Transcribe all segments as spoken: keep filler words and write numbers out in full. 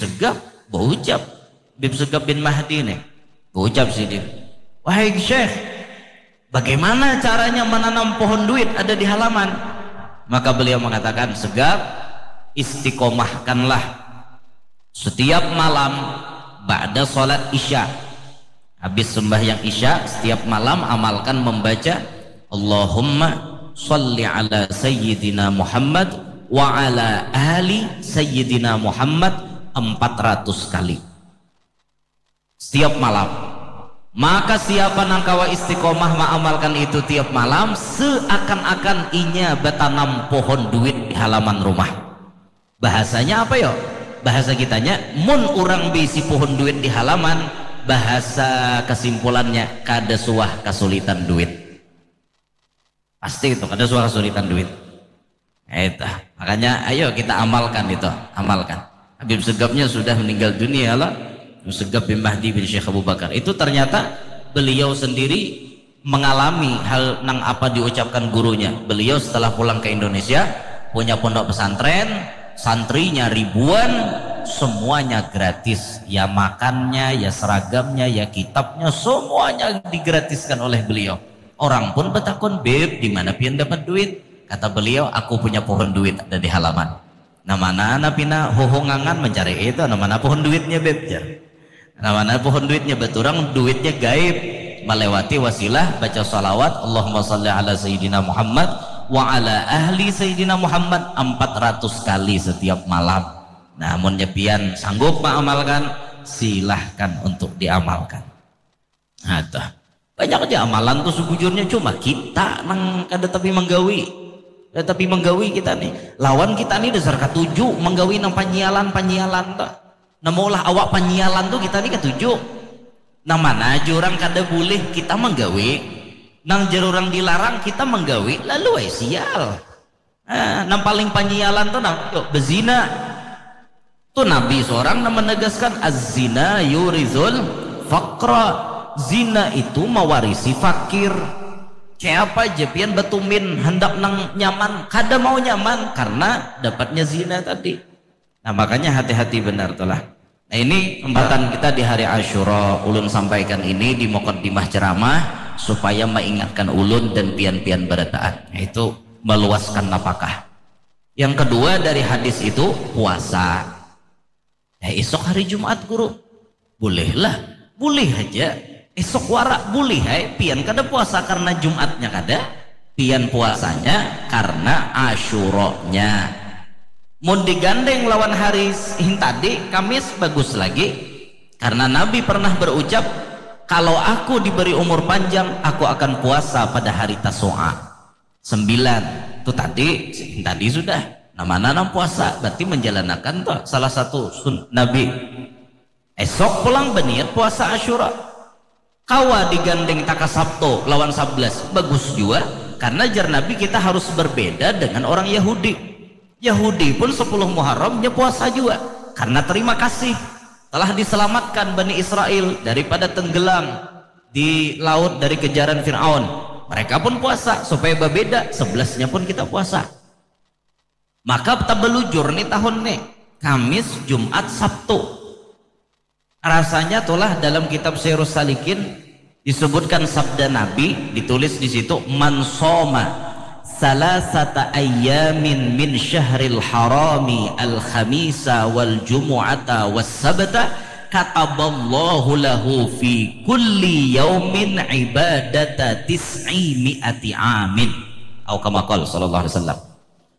Segaf baucap, Habib Segaf bin Mahdi nih baucap sidin, "Wahai Syekh, bagaimana caranya menanam pohon duit ada di halaman?" Maka beliau mengatakan, "Segaf, istiqomahkanlah setiap malam ba'da salat Isya." Habis sembahyang Isya, setiap malam amalkan membaca, "Allahumma salli ala Sayyidina Muhammad wa ala ali Sayyidina Muhammad" empat ratus kali. Setiap malam. Maka siapa nang kawa istiqomah maamalkan itu tiap malam, seakan-akan inya batanam pohon duit di halaman rumah. Bahasanya apa yo? Bahasa kitanya, mun urang bisi pohon duit di halaman, bahasa kesimpulannya, kada suah kasulitan duit. Pasti itu, kada suah kasulitan duit. Nah, itu. Makanya ayo kita amalkan itu, amalkan. Habib Segafnya sudah meninggal dunia lah. Habib Segaf bin Mahdi bin Syekh Abu Bakar. Itu ternyata beliau sendiri mengalami hal nang apa diucapkan gurunya. Beliau setelah pulang ke Indonesia, punya pondok pesantren, santrinya ribuan, semuanya gratis. Ya makannya, ya seragamnya, ya kitabnya, semuanya digratiskan oleh beliau. Orang pun betakun, "Bib, di mana pian dapat duit?" Kata beliau, "Aku punya pohon duit ada di halaman." Nah, mana na pina huhungangan mencari itu, nah, mana pohon duitnya, Bib, jar. Nah, mana pohon duitnya, baturang duitnya gaib, melewati wasilah baca salawat, "Allahumma salli ala Sayyidina Muhammad wa ala ahli Sayyidina Muhammad empat ratus kali setiap malam. Nah, munnya pian sanggup mengamalkan, silahkan untuk diamalkan." Nah, tuh. Banyak aja amalan tuh sebujurnya, cuma kita nang kada tapi menggawi. Kada tapi menggawi kita nih. Lawan kita nih dasar katuju menggawi nang panyialan-panyialan tuh. Nah, maulah awak panyialan tuh kita nih katuju. Nang mana aja orang kada boleh kita menggawi. Nang jar orang dilarang kita menggawi, lalu ai sial. Ah, nang paling panyialan tuh nang tuh bezina. Tuh Nabi seorang nang menegaskan, "Az-zina yurizul faqra." Zina itu mewarisi fakir. Siapa aja pian batumin hendak nang nyaman, kada mau nyaman karena dapatnya zina tadi. Nah, makanya hati-hati benar tuh lah. Nah, ini kesempatan kita di hari Asyura, ulun sampaikan ini di mukaddimah ceramah supaya mengingatkan ulun dan pian-pian berataan, yaitu meluaskan nafkah. Yang kedua dari hadis itu puasa. Ya, esok hari Jumat, Guru. Bolehlah, boleh aja. Esok wara, boleh ai. Pian kada puasa karena Jumatnya kada. Pian puasanya karena Asyuranya. Mun digandeng lawan hari hintadi, Kamis, bagus lagi. Karena Nabi pernah berucap, "Kalau aku diberi umur panjang, aku akan puasa pada hari Tasu'a." Sembilan. Tuh tadi, tadi sudah. Nah, mana nang puasa? Berarti menjalankan tuh salah satu sun Nabi. Esok pulang baniat puasa Asyura. Kawa digandeng taka Sabtu lawan sablas. Bagus jua. Karena jar Nabi kita harus berbeda dengan orang Yahudi. Yahudi pun sepuluh Muharram nya puasa jua. Karena terima kasih telah diselamatkan Bani Israel daripada tenggelam di laut dari kejaran Fir'aun. Mereka pun puasa supaya berbeda, sebelasnya pun kita puasa. Maka tabelujur nih tahun nih, Kamis, Jumat, Sabtu. Rasanya tulah dalam kitab Sirus Salikin disebutkan sabda Nabi, ditulis di situ, "Man soma salasata ayyamin min syahril harami al-khamisa wal jumu'ata was sabta, kataballahu lahu fi kulli yaumin ibadata tis'i mi'ati amin." Au kama qala sallallahu alaihi wasallam.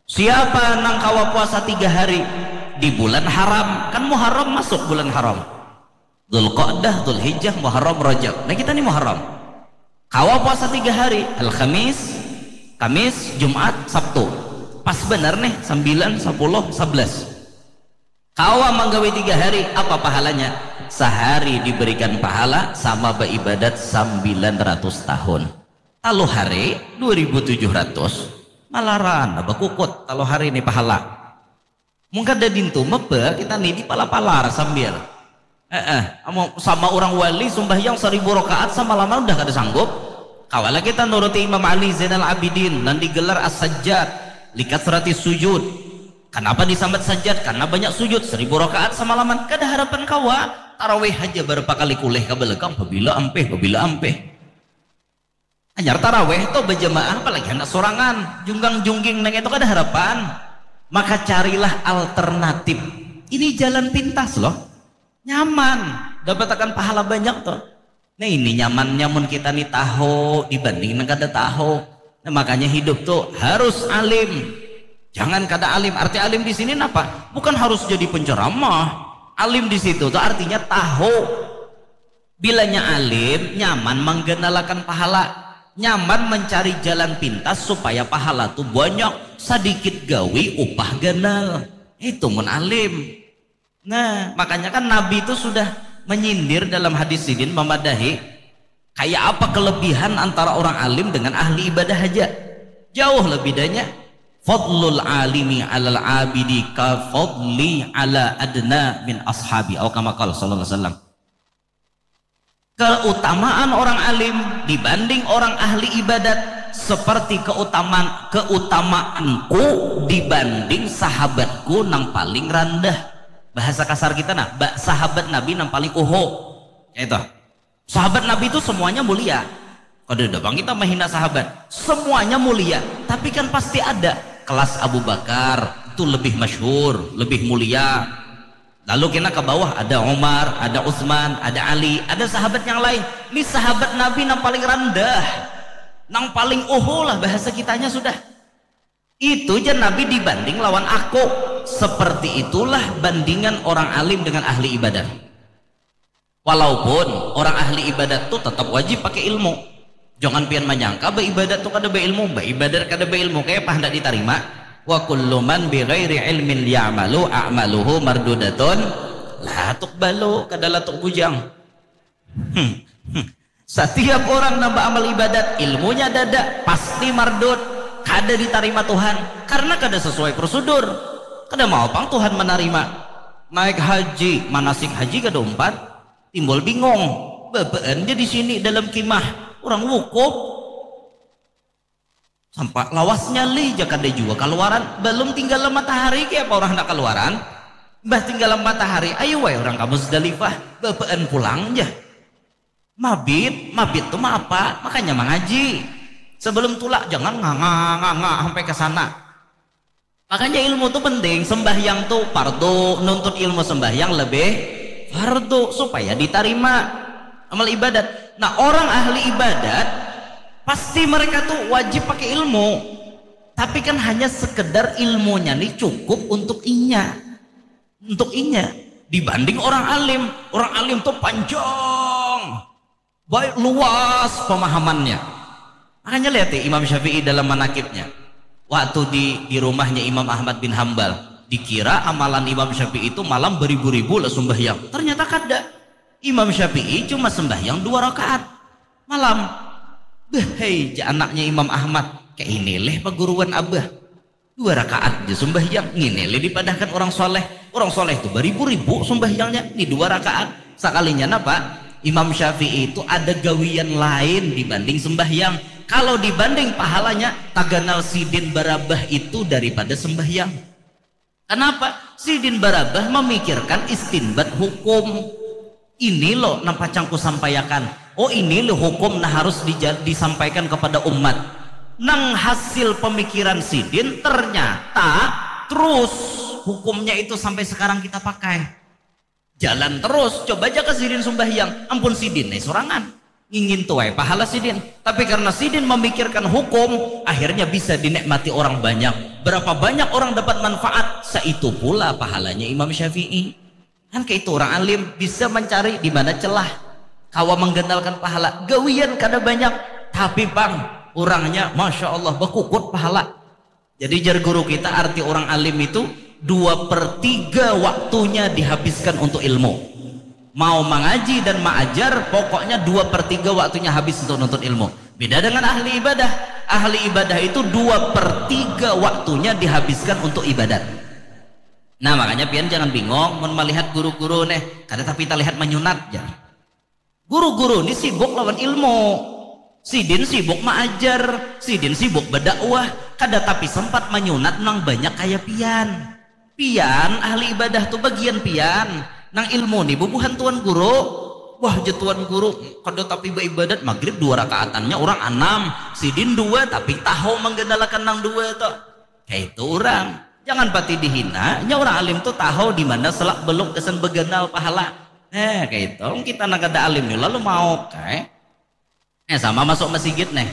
Siapa nang kawa puasa tiga hari di bulan haram, kan Muharram masuk bulan haram. Dzulqa'dah, Dzulhijjah, Muharram, Rajab. Nah, kita ni Muharram. Kawa puasa tiga hari, Alhamis, Kamis, Jumat, Sabtu. Pas benar nih, sembilan, sepuluh, sebelas. Kawa manggawi tiga hari, apa pahalanya? Sehari diberikan pahala sama beribadat sembilan ratus tahun. Talu hari, dua ribu tujuh ratus, malaran bakukut talu hari ni pahala. Mun kada dintu mebe kita ni dipala-palar sambil. Eh, eh, amun sama urang wali sumbahyang saribu rakaat samalaman udah kada sanggup. Kawa lagi kita nuruti Imam Ali Zainal Abidin nang digelar As-Sajjad, likat serati sujud. Kanapa disambat sajat? Karena banyak sujud, seribu rakaat samalaman. Kada harapan kawa. Tarawih haja barapa kali kulih ka balakang, babila ampih, babila ampih. Hanyar tarawih tu bajamaah, apalagi handak sorangan. Junggang-jungging nang itu kada harapan. Maka carilah alternatif. Ini jalan pintas loh. Nyaman. Dapatakan pahala banyak tu. Nah, ini nyamannya mun kita ni tahu dibanding nang kada tahu. Nah, makanya hidup tu harus alim. Jangan kada alim. Arti alim di sini napa? Bukan harus jadi penceramah. Alim di situ tu artinya tahu. Bilanya alim, nyaman mangganalakan pahala. Nyaman mencari jalan pintas supaya pahala tu banyak. Sadikit gawi, upah ganal. Itu mun alim. Nah, makanya kan Nabi itu sudah menyindir dalam hadis sidin, memadahi kayak apa kelebihan antara orang alim dengan ahli ibadah haja. Jauh lah bedanya. Fadlul alimi alal abidi ka fadli ala adna min ashabi. Au kama qala sallallahu alaihi wasallam. Keutamaan orang alim dibanding orang ahli ibadat seperti keutamaan keutamaanku dibanding sahabatku nang paling randah. Bahasa kasar kita nah, ba- sahabat Nabi nang paling uho. Itu. Sahabat Nabi itu semuanya mulia. Kada ada bang kita menghina sahabat. Semuanya mulia, tapi kan pasti ada kelas Abu Bakar itu lebih masyhur, lebih mulia. Lalu kena ke bawah ada Umar, ada Utsman, ada Ali, ada sahabat yang lain. Ini sahabat Nabi nang paling randah, nang paling uhu lah bahasa kitanya sudah. Itu je Nabi dibanding lawan aku. Seperti itulah bandingan orang alim dengan ahli ibadah. Walaupun orang ahli ibadat tu tetap wajib pakai ilmu. Jangan pian manyangka baibadat tu kada bailmu, baibadat kada bailmu, kaya apa handak ditarima? Wa kullu man bi ghairi ilmin ya'malu a'maluhu mardudatun la tuqbalu, kada latuk bujang. Hmm, hmm. Satiap orang nang baamal ibadat, ilmunya dada, pasti mardud, kada ditarima Tuhan, karena kada sesuai prosedur. Kada mau pang Tuhan manarima. Naik haji, manasik haji kada umpat, timbul bingung. Babaan ja di sini dalam kimah, urang wukuf. Sampai lawasnya lih ja kada jua kaluaran, balum tinggalam matahari kaya apa urang handak kaluaran. Mbah tinggalam matahari, ayu ai urang ka Muzdalifah, babaan pulang ja. Mabit, mabit tu maapa, makanya mangaji. Sebelum tulak jangan nganga-nganga sampai ke sana. Makanya ilmu tu penting, sembahyang tu fardu, nuntut ilmu sembahyang lebih fardu supaya ditarima amal ibadat. Nah, orang ahli ibadat pasti mereka tu wajib pakai ilmu. Tapi kan hanya sekedar ilmunya ni cukup untuk inya. Untuk inya dibanding orang alim. Orang alim tu panjang, baik luas pemahamannya. Makanya lihat ya Imam Syafi'i dalam manakibnya. Waktu di di rumahnya Imam Ahmad bin Hambal, dikira amalan Imam Syafi'i itu malam beribu-ribu lah sumbahyang. Ternyata kada. Imam Syafi'i cuma sembahyang dua rakaat malam. Behai ja anaknya Imam Ahmad, kayak ini leh paguruan abah. Dua rakaat ja sumbahyang, ngini leh dipadahkan orang soleh. Orang soleh tu baribu-ribu sumbahyangnya, ni dua rakaat. Sakalinya napa? Imam Syafi'i itu ada gawian lain dibanding sembahyang. Kalau dibanding pahalanya, taganal sidin barabah itu daripada sembahyang. Kenapa? Sidin barabah memikirkan istinbat hukum. Ini loh nang pacang kusampaiakan. Oh, ini loh hukum nang harus dija- disampaikan kepada umat. Nang hasil pemikiran sidin ternyata terus hukumnya itu sampai sekarang kita pakai. Jalan terus, coba aja ke sidin sumbahyang, ampun sidin nih sorangan. Ngingin tuai pahala sidin. Tapi karena sidin memikirkan hukum, akhirnya bisa dinikmati orang banyak. Berapa banyak orang dapat manfaat, seitu pula pahalanya Imam Syafi'i. Kan kayak itu orang alim bisa mencari di mana celah. Kawa mengganalkan pahala. Gawian kada banyak, tapi pang orangnya masya Allah bakukut pahala. Jadi jar guru kita arti orang alim itu dua per tiga waktunya dihabiskan untuk ilmu. Mau mengaji dan mengajar, pokoknya dua per tiga waktunya habis untuk nuntut ilmu. Beda dengan ahli ibadah. Ahli ibadah itu dua per tiga waktunya dihabiskan untuk ibadat. Nah, makanya pian jangan bingung mun melihat guru-guru nih, kada tapi terlihat menyunat ya. Guru-guru ni sibuk lawan ilmu. Sidin sibuk maajar, sidin sibuk berdakwah, kada tapi sempat menyunat nang banyak kaya pian. Pian ahli ibadah tu bagian pian. Nang ilmu ni bubuhan tuan guru. Wah, ja tuan guru, kada tapi baibadat, magrib dua rakaatannya orang anam, sidin dua tapi tahu menggendalakan nang dua tu. Kaitu orang. Jangan pati dihina, nya orang alim tu tahu di mana selak beluk gasan beganal pahala. Nah, kaitu. Kita nang kada alim ni lalu mau kai. Eh, sama masuk masigit nih.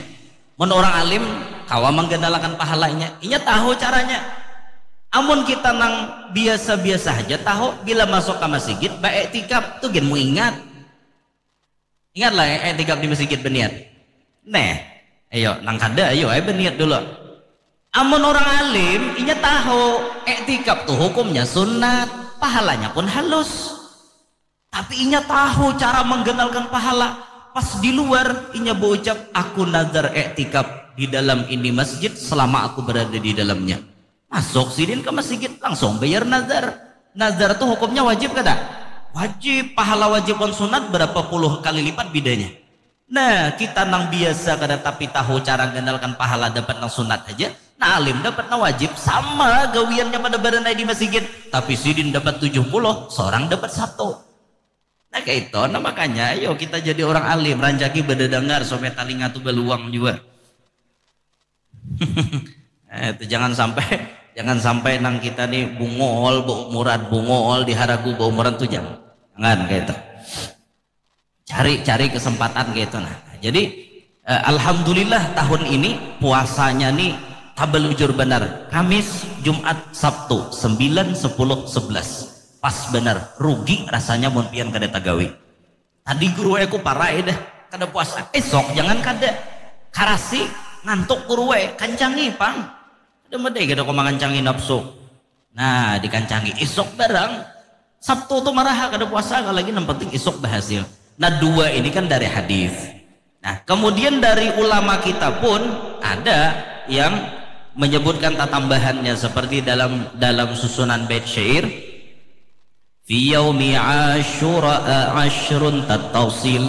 Mun orang alim kawa menggendalakan pahalanya, inya tahu caranya. Amun kita nang biasa-biasa aja tahu, bila masuk ke masigit, baiktikaf tu gin mu ingat. Ingatlah ya, iktikaf di masigit beniat. Neh, ayo, nang kada, ayo, ayo beniat dulu. Amun orang alim, inya tahu, iktikaf tu hukumnya sunat, pahalanya pun halus. Tapi inya tahu cara menggenalkan pahala. Pas di luar, inya berucap, aku nazar iktikaf di dalam ini masjid selama aku berada di dalamnya. Masuk sidin ke masjid, langsung bayar nazar. Nazar tu hukumnya wajib kada? Wajib. Pahala wajib wan sunat berapa puluh kali lipat bedanya. Nah, kita nang biasa kada tapi tahu cara ganalkan pahala dapat nang sunat aja, nah alim dapat nang wajib, sama gawiannya pada baranai di masigit, tapi sidin dapat tujuh puluh, seorang dapat satu. Nah, kayak itu. Nah, makanya ayo kita jadi orang alim, rancaki badadangar supaya talinga tu baluang juga. Eh, itu jangan sampai jangan sampai nang kita nih bungol, bu- murad bungol, diharagu baumuran tuh jangan. Jangan kayak itu. Cari-cari kesempatan kayak itu nah. Jadi eh, alhamdulillah tahun ini puasanya nih tabelujur benar. Kamis, Jumat, Sabtu, sembilan, sepuluh, sebelas. Pas benar, rugi rasanya mun pian kada tagawi. Tadi guru aku parai dah, kada puasa. Esok jangan kada. Karasi, ngantuk guru, kancangi pang. Kada medai kada kau mangancangi nafsu. Nah, dikancangi isuk barang. Sabtu tu maraha kada puasa, kalau lagi nang penting isuk berhasil. Nah, dua ini kan dari hadis. Nah, kemudian dari ulama kita pun ada yang menyebutkan tatambahannya seperti dalam dalam susunan bait syair, fi yaumi asyura asyrun tattasil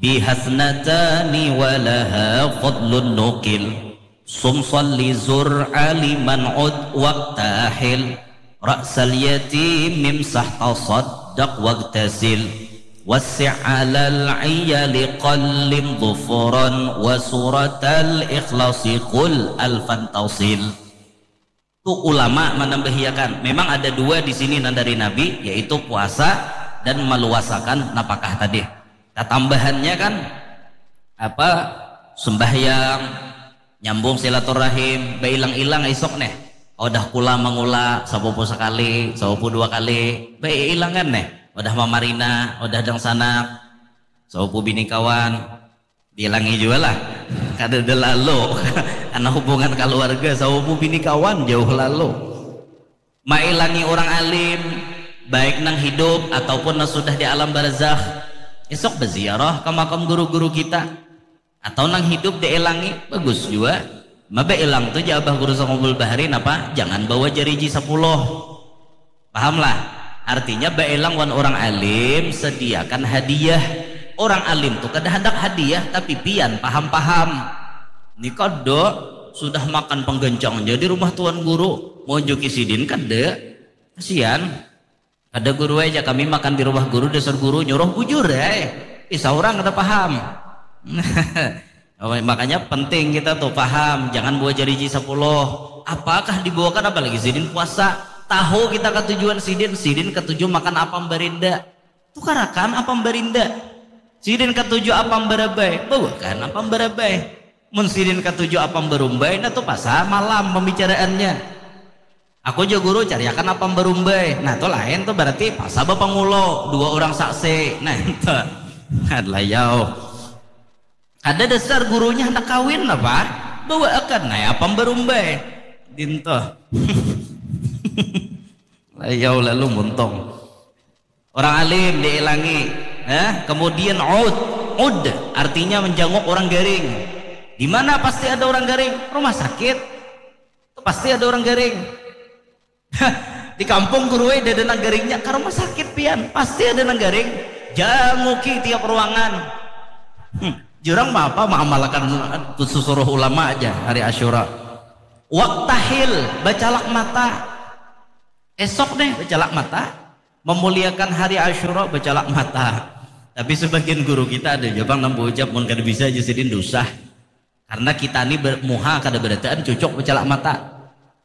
bihasnatani walaha fadlun nukil. Sum salli zur aliman ud waktahil. Ra'sal yatimim sah tasaddaq wagtasil. Wasi' alal iyali qallim dhufran. Wa suratal ikhlasi qul alfan tasil. Tu ulama manambahiakan. Memang ada dua di sini nang dari Nabi, yaitu puasa dan maluasakan napakah tadi. Tatambahannya kan apa sembahyang, nyambung silaturahim, bailang-ilang isuk neh. Odah kula mangula sapupu sakali, sapupu dua kali, bailangan neh. Odah mamarina, odah dangsanak, sapupu bini kawan, diilangi jua lah. Kada ada lalu. Karena hubungan keluarga, sapupu bini kawan jauh lalu. Mailangi orang alim, baik nang hidup ataupun nang sudah di alam barzakh. Isuk baziarah ke makam guru-guru kita. Atau nang hidup diilangi, bagus jua. Maba ilang tu ja abah guru Songobul Bahari napa, jangan bawa jariji sapuluh. Pahamlah? Artinya bailang wan orang alim, sediakan hadiah. Orang alim tu kada handak hadiah tapi pian paham-paham. Ni kada, sudah makan panggancang ja di rumah tuan guru, maunjuki sidin kada. Kasian. Kada guru ai, ja kami makan di rumah guru, dasar guru nyuruh bujur ai. Ih, saurang kada paham. Makanya penting kita tuh paham, jangan bawa jariji sapuluh. Apakah dibawakan apalagi sidin puasa? Tahu kita katujuan sidin, sidin katuju makan apam barinda. Tukarakan apam barinda. Sidin katuju apam barabai, bawakan apam barabai. Mun sidin katuju apam barumbai, nah tu pasal malam pembicaraannya. Aku ja guru cariakan apam barumbai. Nah, tu lain tu berarti pasal bapangulo, dua orang saksi. Nah, itu. Adalah yau. Kada dasar gurunya hendak kawin apa? Bawaakan nah apam barumbai. Dinto. Layau lalu muntung. Orang alim diilangi. Eh, kemudian ud. Ud artinya menjanguk orang garing. Di mana pasti ada orang garing? Rumah sakit. Itu pasti ada orang garing. Di kampung guru ai ada nang garingnya, ke rumah sakit pian, pasti ada nang garing. Janguki tiap ruangan. Hmm, jurang apa maamalakan susuruh ulama aja hari Asyura. Waktahil, bacalak mata. Esok nih bacalak mata, memuliakan hari Asyura bacalak mata. Tapi sebagian guru kita ada jabang nang ucap, mun kada bisa aja sidin dusah. Karena kita ni ber, muha kada berataan cucuk bacalak mata.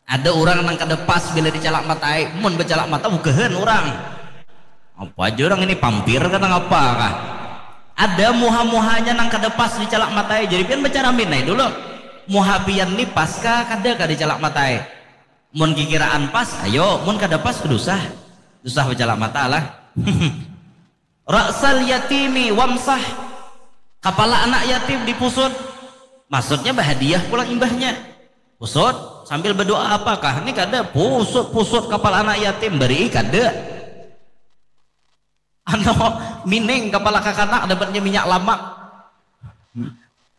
Ada orang nang kada pas bila dicalak matai, mun bacalak mata bugahan orang. Apa aja orang ini pampir kata ngapa kah? Ada muha-muhanya nang kada pas dicalak matai, jadi pian bacara minai dulu. Muha pian ni pas kah kada kah dicalak matai? Mun kikiraan pas, ayo, mun kada pas, dusah. Dusah bacalak mata lah. Ra'sal yatimi wamsah. Kapala anak yatim dipusut. Maksudnya bahadiah pulang imbahnya. Pusut sambil berdoa apakah? Ini kada pusut-pusut kapala anak yatim beri kada. Ano mining kapala kakanak dapatnya minyak lamak.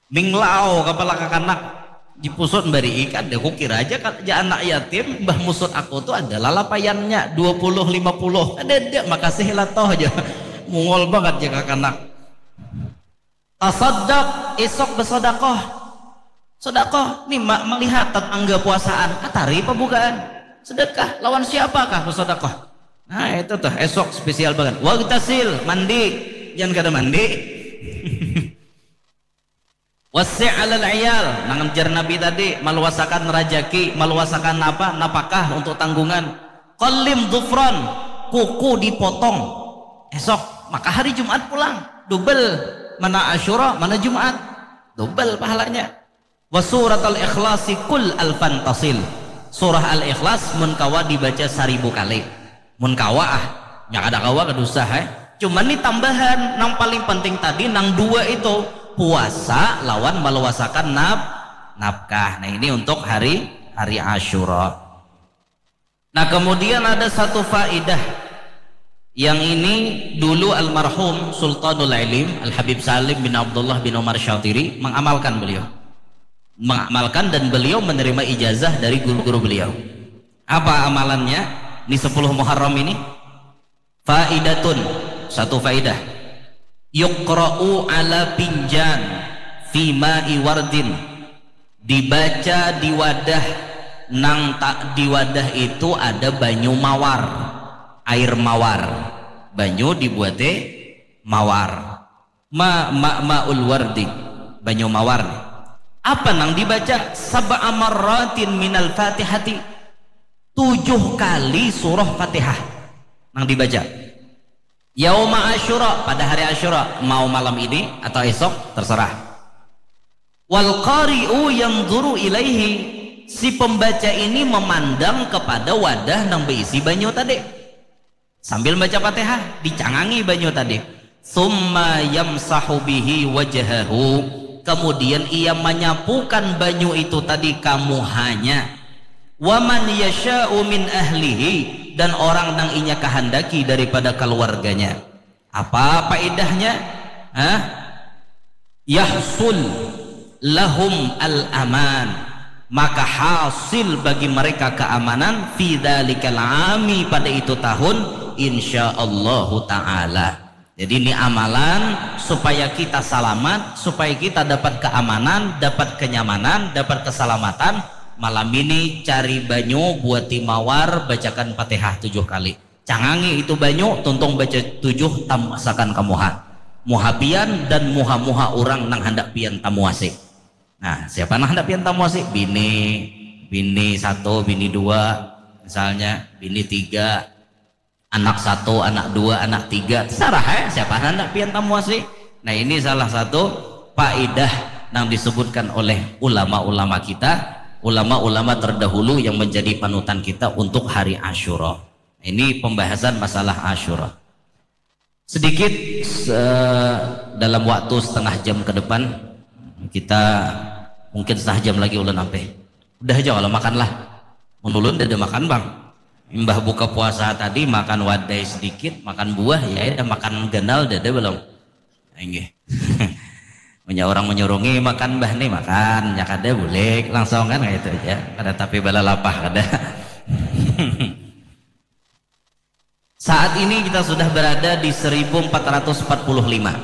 Minglau kapala kakanak dipusut bari ikan deh. Kukira aja kan aja anak yatim, bah musut aku tu adalah lapayannya dua puluh lima puluh. Ada ada makasih lah toh aja. Mungol banget ya kakanak. Tasaddaq, esok bersodakoh. Sodakoh, ni mak melihat tetangga puasaan, atari pembukaan. Sedekah, lawan siapakah bersodakoh? Nah itu tuh esok spesial banget. Wagtasil, mandi, jangan kada mandi. Wasi' alal iyal, nang jar Nabi tadi, maluasakan rajaki, maluasakan apa, napakah untuk tanggungan. Qalim dhufran, kuku dipotong. Esok, maka hari Jumat pulang, double, mana Asyura, mana Jumat, double pahalanya. Wa suratal ikhlasi kul alfan tasil. Surah Al-Ikhlas mun kawa dibaca saribu kali. Mun kawa ah, nya kada kawa kada usah eh. Cuman ni tambahan nang paling penting tadi nang dua itu puasa lawan maluasakan naf nafkah. Nah ini untuk hari hari Asyura. Nah kemudian ada satu faidah yang ini dulu almarhum Sultanul Ilim Al Habib Salim bin Abdullah bin Umar Syatiri mengamalkan beliau mengamalkan dan beliau menerima ijazah dari guru-guru beliau. Apa amalannya di sepuluh Muharram ini? Faidatun, satu faidah. Yuqra'u ala pinjan fima iwardin. Dibaca di wadah nang tak di wadah itu ada banyu mawar, air mawar. Banyu dibuatnya mawar. Ma ma maul wardi, banyu mawar. Apa nang dibaca? Sab'a marratin minal Fatihati. Tujuh kali surah Fatihah nang dibaca. Yauma Asyura, pada hari Asyura, mau malam ini atau esok terserah. Wal qari'u yanzuru ilaihi, si pembaca ini memandang kepada wadah nang berisi banyu tadi. Sambil baca Fatihah, dicangangi banyu tadi. Summa yamsahu bihi wajhahu. Kemudian ia menyapukan banyu itu tadi ka muhanya. Waman yasha'u min ahlihi, dan orang nang inya kahandaki daripada keluarganya. Apa faedahnya? Hah? Yahsul lahum al-aman, maka hasil bagi mereka keamanan fi dzalikal ami, pada itu tahun, insyaallahu taala. Jadi ini amalan supaya kita salamat, supaya kita dapat keamanan, dapat kenyamanan, dapat keselamatan. Malam ini cari banyu buat timawar, bacakan Fatihah tujuh kali. Cangangi itu banyu, tuntung baca tujuh, tamuasakan ka muha. Muha pian dan muha-muha urang nang handak pian tamuasi. Nah, siapa nang handak pian tamuasi? Bini, bini satu, bini dua, misalnya bini tiga, anak satu, anak dua, anak tiga, terserah ya siapa nang handak pian tamuasi. Nah, ini salah satu faedah nang disebutkan oleh ulama-ulama kita, ulama-ulama terdahulu yang menjadi panutan kita untuk hari Asyura. Ini pembahasan masalah Asyura. Sedikit se- dalam waktu setengah jam ke depan kita mungkin setengah jam lagi ulun ampe. Udah aja kalau makan lah. Mun ulun dah ada makan bang. Imbah buka puasa tadi makan wadai sedikit, makan buah ya, ada makan ganal dah ada belum? Inggih. Punya orang menyurungi makan bah nih makan, ya kada bulik langsung kan gitu aja. Kada tapi bala lapah kada. Saat ini kita sudah berada di seribu empat ratus empat puluh lima.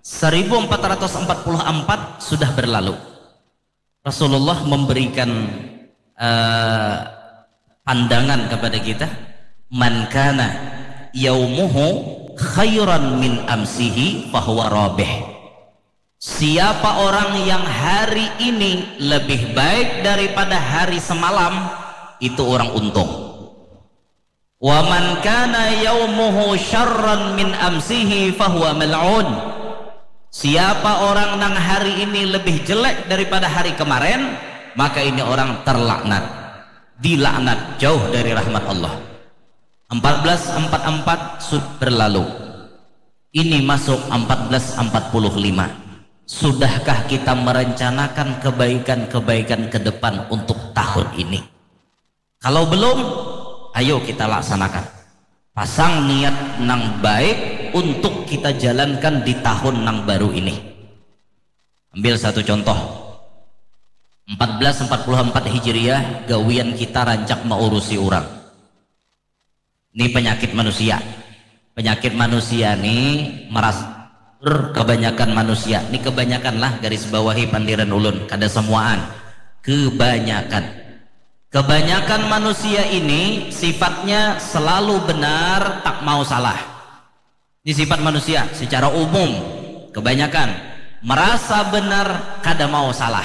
Seribu empat ratus empat puluh empat sudah berlalu. Rasulullah memberikan eh, pandangan kepada kita, "Man kana yaumuhu khairan min amsihi fahuwa rabih." Siapa orang yang hari ini lebih baik daripada hari semalam, itu orang untung. "Wa man kana yaumuhu syarran min amsihi fahuwa mal'un." Siapa orang nang hari ini lebih jelek daripada hari kemarin, maka ini orang terlaknat, dilaknat, jauh dari rahmat Allah. Empat belas empat empat sudah berlalu. Ini masuk empat belas empat puluh lima. Sudahkah kita merencanakan kebaikan-kebaikan ke depan untuk tahun ini? Kalau belum, ayo kita laksanakan. Pasang niat nang baik untuk kita jalankan di tahun nang baru ini. Ambil satu contoh. Empat belas empat puluh empat Hijriah, gawian kita rancak maurusi orang. Ini penyakit manusia. Penyakit manusia ni meras-, kebanyakan manusia. Ini kebanyakan lah, garis bawahi pandiran ulun. Kada semuaan. Kebanyakan. Kebanyakan manusia ini sifatnya selalu benar, tak mau salah. Ini sifat manusia secara umum. Kebanyakan merasa benar, kada mau salah.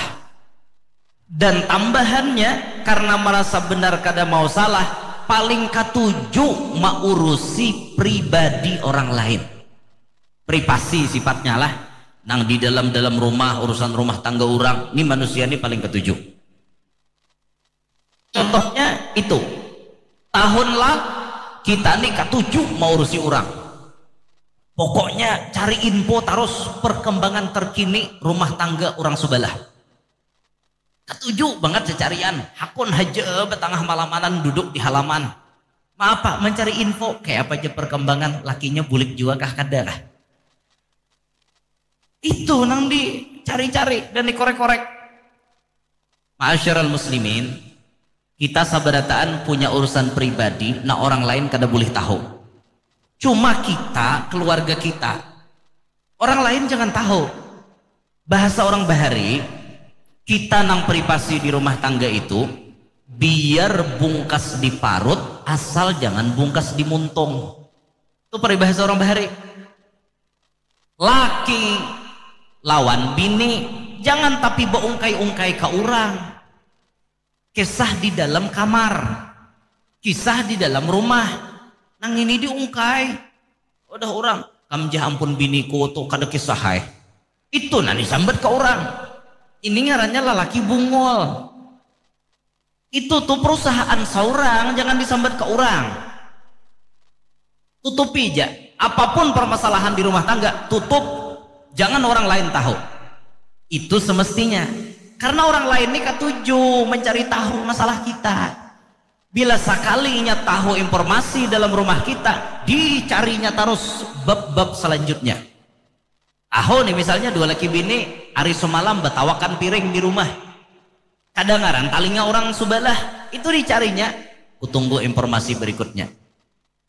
Dan tambahannya, karena merasa benar kada mau salah, paling katuju maurusi pribadi orang lain. Privasi sifatnya lah. Nang di dalam-dalam rumah, urusan rumah tangga orang, ni manusia ni paling katuju. Contohnya itu, tahun lah kita ni katuju maurusi orang. Pokoknya cari info terus perkembangan terkini rumah tangga orang sebelah. Katuju banget cacarian, hakun haja batangah malamanan duduk di halaman. Maapa mencari info, kayak apa aja perkembangan, lakinya bulik jua kah, kada kah? Itu nang dicari-cari dan dikorek-korek. Ma'asyiral muslimin, kita sabarataan punya urusan pribadi, nah orang lain kada boleh tahu. Cuma kita, keluarga kita, orang lain jangan tahu. Bahasa orang bahari, kita nang privasi di rumah tangga itu, biar bungkas di parut, asal jangan bungkas di muntung. Itu peribahasa orang bahari. Laki lawan bini, jangan tapi beungkai-ungkai ke orang. Kisah di dalam kamar, kisah di dalam rumah, nang ini diungkai. Udah orang, "Kam jah ampun biniku tu kada kisah hai." Itu nah disambat ke orang. Ini ngarannya lalaki bungul. Itu tuh perusahaan seorang, jangan disambat ke orang. Tutupi aja. Apapun permasalahan di rumah tangga, tutup. Jangan orang lain tahu. Itu semestinya. Karena orang lain ini katuju mencari tahu masalah kita. Bila sekalinya tahu informasi dalam rumah kita, dicarinya terus bab-bab selanjutnya. Aho nih misalnya dua laki bini hari semalam batawakan piring di rumah. Kadangaran talinga orang subalah, itu dicarinya. Kutunggu informasi berikutnya.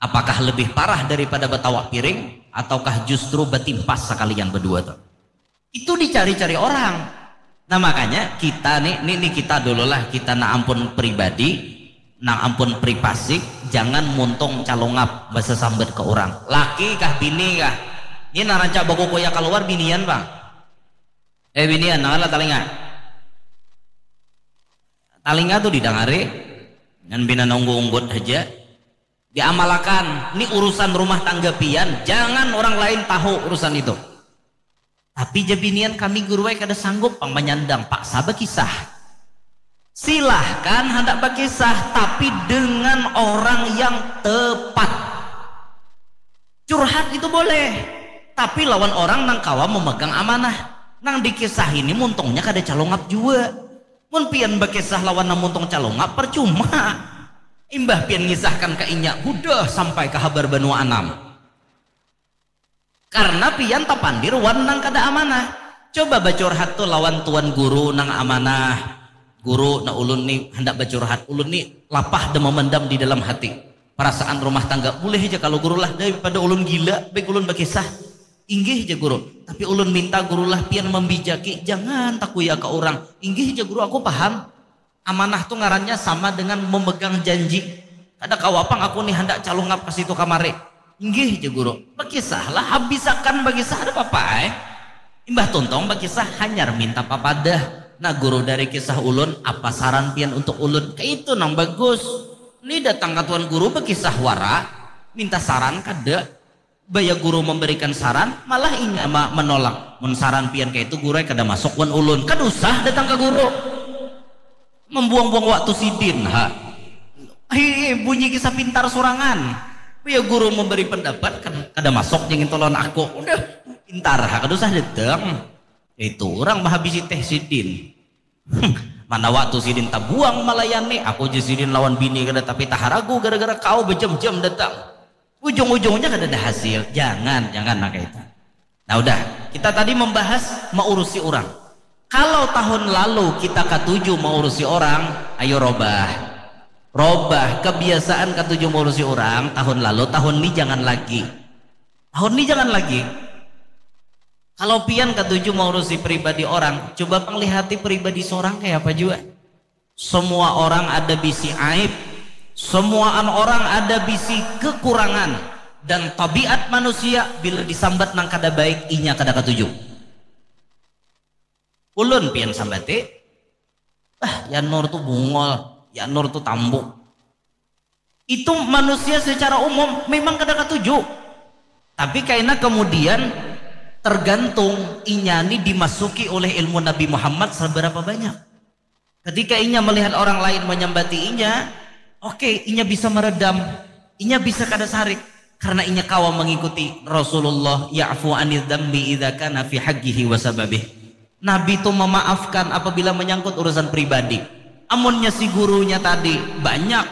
Apakah lebih parah daripada batawak piring ataukah justru batimpas sekalian berdua tuh? Itu dicari-cari orang. Nah makanya kita nih, nih, nih kita dulu lah, kita nak ampun pribadi, nang ampun privasi, jangan muntung calungap basasambat ke orang. Laki kah bini kah? Ini nang rancak bakukuya keluar binian pang. Eh binian, nang lah talinga. Talinga tuh didangari, ngan pina nunggu unggut aja. Diamalakan, ini urusan rumah tangga pian, jangan orang lain tahu urusan itu. Tapi ja binian kami guru ai kada sanggup pang manyandang, paksa bakisah. Silahkan handak bakisah, tapi dengan orang yang tepat. Curhat itu boleh, tapi lawan orang nang kawa memegang amanah. Nang dikisah ini muntungnya kada calungap jua. Mun pian bakisah lawan nang muntung calungap, percuma. Imbah pian ngisahkan ka inya, hudah sampai ka habar banua anam. Karena pian tapandir wan nang kada amanah. Coba bacurhat tu lawan tuan guru nang amanah. Guru, nah ulun ni handak bacurhat. Ulun ni lapah dan memendam di dalam hati. Perasaan rumah tangga. Boleh aja kalau guru lah, daripada ulun gila, baik ulun bakisah. Inggih aja guru. Tapi ulun minta guru lah pian membijaki. Jangan takuya ke orang. Inggih aja guru, aku paham. Amanah tu ngarannya sama dengan memegang janji. Kada kawa pang aku nih handak calungap ka situ kamari. Inggih, jar guru. Bakisahlah, habisakan bakisah, ada apa-apa ai. Imbah tuntung bakisah, hanyar minta papadah. Nah guru, dari kisah ulun, apa saran pian untuk ulun? Kaitu nang bagus. Ni datang ka tuan guru bakisah wara, minta saran kada. Baya guru memberikan saran, malah inya ma- menolak. Mun saran pian kaitu guru ai, kada masuk wan ulun. Kada usah datang ka guru. Membuang-buang waktu sidin ha. Hi, bunyi kisah pintar surangan. Baya guru memberi pendapat, kada, kada masuk jar ngintu lawan aku. Udah, pintar ha, kada usah datang. Itu urang mahabisi teh sidin. Hmm, mana waktu sidin tabuang malayani, aku ja sidin lawan bini kada tapi taharagu gara-gara kau bejam-jam datang. Ujung-ujungnya kada ada hasil. Jangan, jangan nang kaitu. Nah udah, kita tadi membahas maurusi orang. Kalau tahun lalu kita katuju maurusi orang, ayo robah. Robah kebiasaan katuju maurusi orang tahun lalu, tahun ini jangan lagi. Tahun ini jangan lagi. Kalau pian katuju maurusi pribadi orang, coba pang lihati pribadi seorang kayak apa juga. Semua orang ada bisi aib, semuaan orang ada bisi kekurangan, dan tabiat manusia bila disambat nang kada baik inya kada katuju. Ulun pian sambati, ah, Yanur tu bungol, Yanur tu tambuk. Itu manusia secara umum memang kada katuju. Tapi kaina kemudian tergantung inya ni dimasuki oleh ilmu Nabi Muhammad seberapa banyak. Ketika inya melihat orang lain menyambati inya, oke, inya bisa meredam, inya bisa kada sarik karena inya kawa mengikuti Rasulullah, ya'fu anil dzambi idza kana fi haqqihi wa sababih. Nabi tu memaafkan apabila menyangkut urusan pribadi. Amunnya si gurunya tadi banyak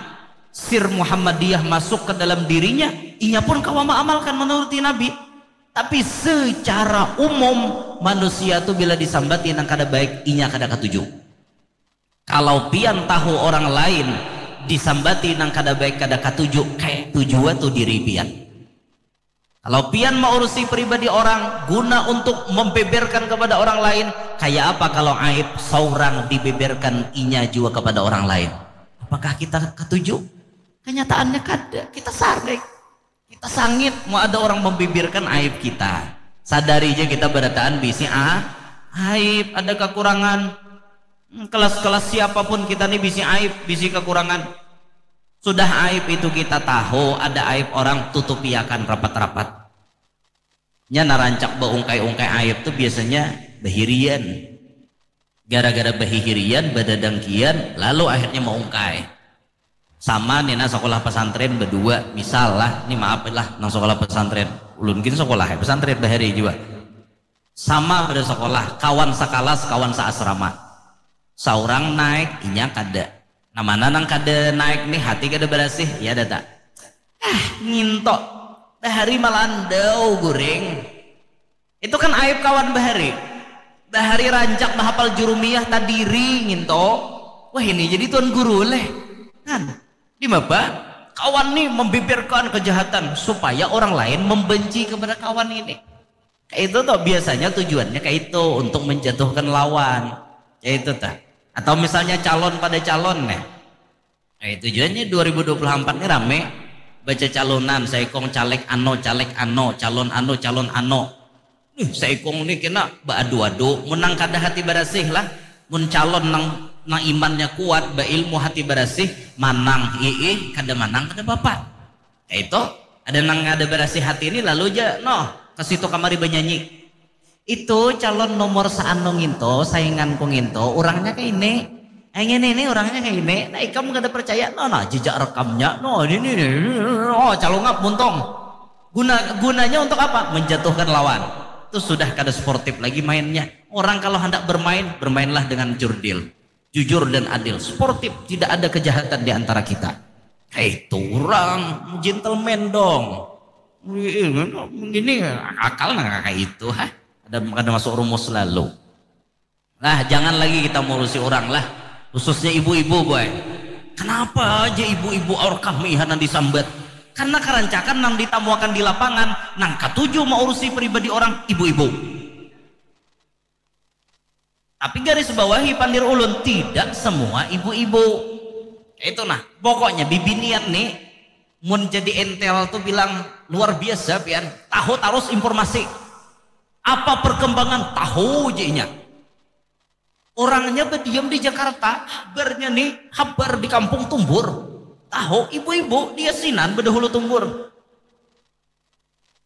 sir Muhammadiyah masuk ke dalam dirinya, inya pun kawa mengamalkan menuruti Nabi. Tapi secara umum manusia tu bila disambati nang kada baik inya kada katuju. Kalau pian tahu orang lain disambati nang kada baik kada katuju, kayak tuju tu diri pian. Kalau pian maurusi pribadi orang guna untuk membeberkan kepada orang lain, kayak apa kalau aib seorang dibeberkan inya juga kepada orang lain? Apakah kita katuju? Kenyataannya kada, kita sarik. Kita sangit mau ada orang membeberkan aib kita. Sadari aja kita berataan bisi ah, aib, ada kekurangan. Hmm, kelas-kelas siapapun kita nih bisi aib, bisi kekurangan. Sudah aib itu kita tahu, ada aib orang tutupiakan rapat-rapat. Nya narancak baungkai-ungkai aib tuh biasanya bahirian. Gara-gara bahihirian, badadangkian, lalu akhirnya maungkai. Sama nih nah sekolah pesantren berdua, misal lah, ini maaf lah nang sekolah pesantren. Ulun gin sekolah ya pesantren bahari juga. Sama pada sekolah, kawan sakalas, kawan seasrama. Saurang naik, inya kada. Nah mana nang kada naik nih, hati kada berasih, ya data. Ah, nginto. Bahari malandau guring. Itu kan aib kawan bahari. Bahari rancak bahapal jurumiyah tadiri nginto. Wah ini jadi tuan guru leh. Kan, di maba? Kawan nih membeberkan kejahatan supaya orang lain membenci kepada kawan ini. Kayak itu tuh biasanya tujuannya kayak itu untuk menjatuhkan lawan. Kayak itu tuh. Atau misalnya calon pada calon nih. Nah, tujuannya dua ribu dua puluh empat ini rame baca calonan, saikong caleg ano, caleg ano, calon ano, calon ano. Nih, saikong nih kena baadu-adu, menang kada hati barasih lah. Mun calon nang nang imannya kuat, bailmu hati barasih, manang iih, kada manang kada bapa. Kayak itu, ada nang ada barasih hati ini lalu aja noh ke situ kamari banyanyi. Itu calon nomor seanu nginto, sainganku nginto, urangnya kayak ini. Yang ini ini urangnya kayak ini. Nah, ikam kada percaya, no, nah, jejak rekamnya, no, ini ini, ini, oh, calungap muntong. Guna gunanya untuk apa? Menjatuhkan lawan. Itu sudah kada sportif lagi mainnya. Orang kalau hendak bermain, bermainlah dengan jurdil. Jujur dan adil, sportif, tidak ada kejahatan di antara kita. Hei, turang, gentleman dong. Ini akal nang kayak itu, ha? Ada ada masuk rumus lalu. Nah, jangan lagi kita ngurusi orang lah, khususnya ibu-ibu, boy. Kenapa aja ibu-ibu awak kami hana disambat? Karena kerancakan nang ditamuakan di lapangan, nang katuju maurusi pribadi orang, ibu-ibu. Tapi garis bawahi pandir ulun, tidak semua ibu-ibu. Itu nah, pokoknya bibinian nih, mun jadi entel tuh bilang luar biasa pian. Tahu tarus informasi. Apa perkembangan, tahu jadinya. Orangnya berdiam di Jakarta, kabarnya nih, kabar di kampung tumbur. Tahu ibu-ibu dia sinan bedahulu tumbur.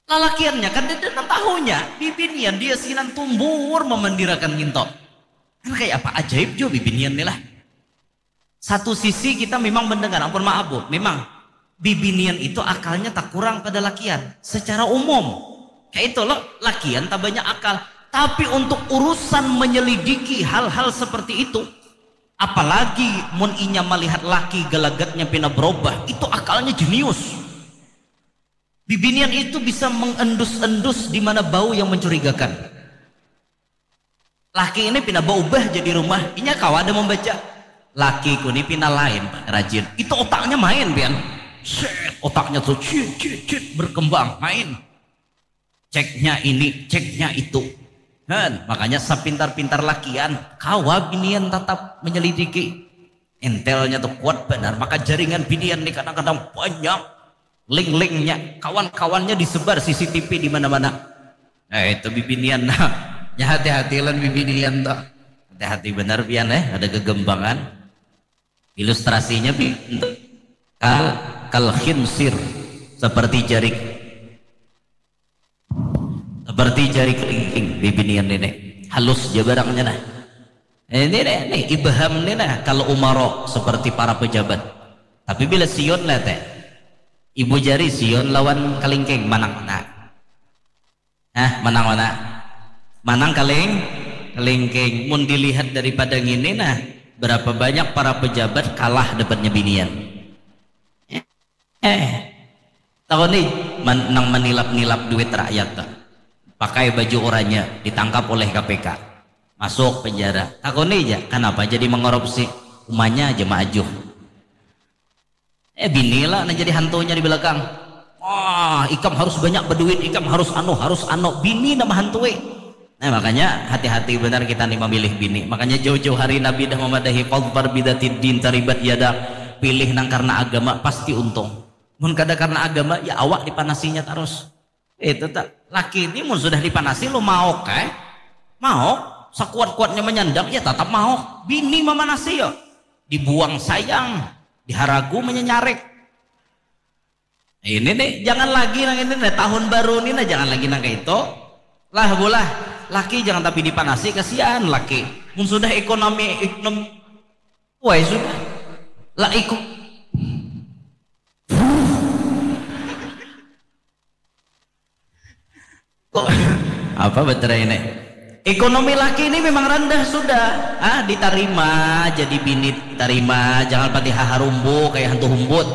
Lalakiannya kan dada nang tahunya, bibinian dia sinan tumbur memandirakan nginto. Kan kayak apa ajaib jo bibinian nih lah. Satu sisi kita memang mendengar, ampun maaf bu, memang bibinian itu akalnya tak kurang pada lakian secara umum. Kayak itu loh, lakian tak banyak akal. Tapi untuk urusan menyelidiki hal-hal seperti itu, apalagi mun inya melihat laki gelagatnya pina berubah, itu akalnya jenius. Bibinian itu bisa mengendus-endus di mana bau yang mencurigakan. Laki ini pina berubah jadi rumah, inya kawa ada membaca. Lakiku ini pina lain, Pak, rajin. Itu otaknya main, pian. Set, otaknya tuh cit, cit, cit, berkembang, main. Ceknya ini, ceknya itu. Kan, makanya sepintar-pintar lakian, kawa binian tetap menyelidiki. Entelnya tuh kuat benar, maka jaringan binian nih kadang-kadang banyak. Link-linknya, kawan-kawannya disebar C C T V di mana-mana. Nah, itu bibinian. Nah, ya hati-hati lan bibinian tuh. Hati-hati benar pian eh, ada gegembangan. Ilustrasinya pi-, kal, kal khinsir, seperti jari, seperti jari kelingking bibinian ini. Halus ja barangnya nah. Ini nih, nih ibham nih nah, kalau umaro seperti para pejabat. Tapi bila siun lah teh, ibu jari siun lawan kelingking manang mana? Hah, manang mana? Manang keling, kelingking. Mun dilihat daripada ngini nah, berapa banyak para pejabat kalah dapatnya binian. Eh, tahu nih, man, nang menilap-nilap duit rakyat tuh. Pakai baju oranye, ditangkap oleh K P K. Masuk penjara. Takuni aja, kenapa jadi mengorupsi? Umanya aja maajuh. Eh, bini lah nang jadi hantunya di belakang. Wah, ikam harus banyak berduit, ikam harus anu, harus anu. Bini nama hantui. Nah, makanya hati-hati benar kita nih memilih bini. Makanya jauh-jauh hari Nabi dah memadahi fadfar bidatid din taribat yada. Pilih nang karena agama pasti untung. Mun kada karena agama, ya awak dipanasinya terus. Itu tak. Laki ini mun sudah dipanasi lo maok eh. Maok, sekuat-kuatnya menyandang ya tetap maok. Bini memanasi ya. Dibuang sayang, diharagu menyenyarik. Ini nih, jangan lagi nang ini nih, tahun baru ini nah jangan lagi nang kayak itu. Lah bolah, laki jangan tapi dipanasi, kasihan laki. Mun sudah ekonomi, ekonomi, wah sudah. Lah ikut apa beterai ini? Ekonomi laki ini memang rendah sudah. Ah, ditarima jadi bini, tarima, jangan pati haharumbu kayak hantu humbut.